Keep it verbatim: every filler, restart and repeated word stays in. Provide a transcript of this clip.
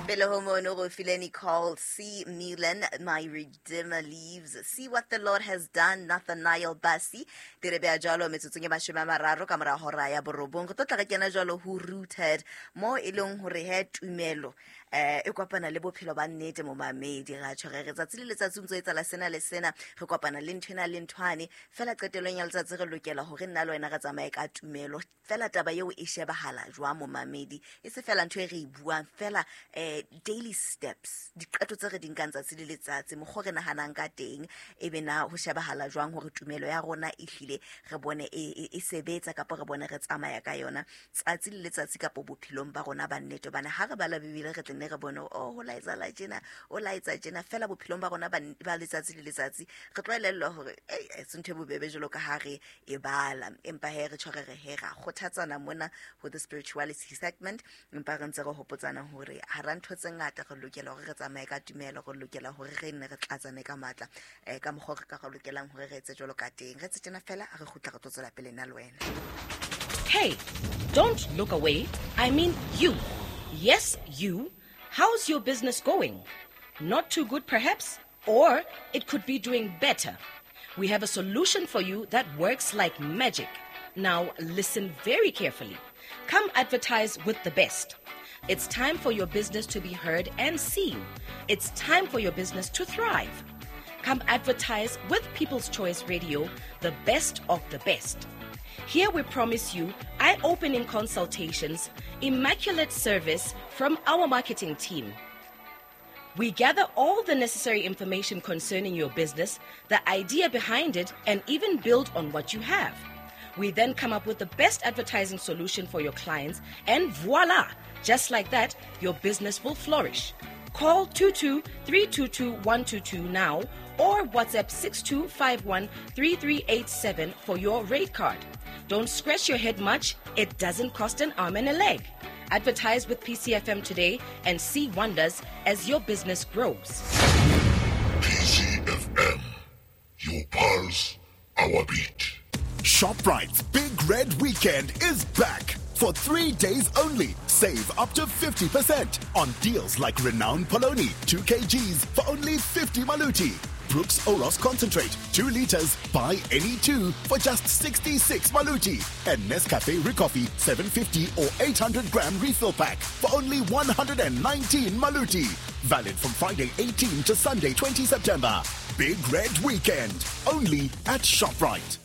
Pele ho mono go file Nicole C. Milan, My Redeemer Lives. See What the Lord Has Done, Nathaniel Bassey. Di re beha jwalo metsotsong e mashome a mararo ka mora hora ya borobong. Re tlo tla re kena jwalo ho Rooted, mo e leng hore he tumelo eh e kopana le bophelo ba nnete momamedi. Ra tjho re re tsatsi le letsatsi o ntso etsahala sena le sena, re kopana le nthwena le nthwane. Fela qetellong ya letsatsi re lokela hore nna le wena re tsamaye ka tumelo. Fela taba eo e shebahala jwang momamedi? E se fela ntho e re e buang, fela eh daily steps, diqeto tse re di nkang tsatsi le letsatsi, mokgwa o re nahanang ka teng, e be na ho shebahala jwang hore tumelo ya rona e hlile re bone e, e, e sebetsa kapa re bone re tsamaya ka yona tsatsi le letsatsi kapa bophelong ba rona ba nnete. Hobane ha re bala Bibele re tle nne re bone, oh, ho laetsa tjena, o laetsa tjena, fela bophelong ba rona ba n-, ba letsatsi le letsatsi re tlo elellwa hore, ei, e se ntho e bobebe jwalo ka ha re e bala. Empa he re tjho re re he ra kgothatsana mona ho the spirituality segment, empa re ntse re hopotsana hore hara ntho tse ngata re lokela hore re tsamaye ka tumelo, re lokela hore re nne re tlatsane ka matla, eh, ka mokgwa re ka re lokelang hore re etse jwalo ka teng. Re etse tjena fela, re kgutla re tlo tswela pele nna le wena. Hey, don't look away. I mean you. Yes, you. How's your business going? Not too good, perhaps? Or it could be doing better. We have a solution for you that works like magic. Now, listen very carefully. Come advertise with the best. It's time for your business to be heard and seen. It's time for your business to thrive. Come advertise with People's Choice Radio, the best of the best. Here we promise you eye-opening consultations, immaculate service from our marketing team. We gather all the necessary information concerning your business, the idea behind it, and even build on what you have. We then come up with the best advertising solution for your clients, and voila! Just like that, your business will flourish. Call two two three two two one two two now or WhatsApp six two five one three three eight seven for your rate card. Don't scratch your head much. It doesn't cost an arm and a leg. Advertise with P C F M today and see wonders as your business grows. P C F M, your pulse, our beat. ShopRite's Big Red Weekend is back. For three days only, save up to fifty percent on deals like Renown Poloni, two kilograms for only fifty maluti. Brooks Oros Concentrate, two liters, buy any two for just sixty-six maluti. And Nescafe Ricoffy, seven fifty or eight hundred gram refill pack for only one hundred and nineteen maluti. Valid from Friday eighteen to Sunday twenty September. Big Red Weekend, only at ShopRite.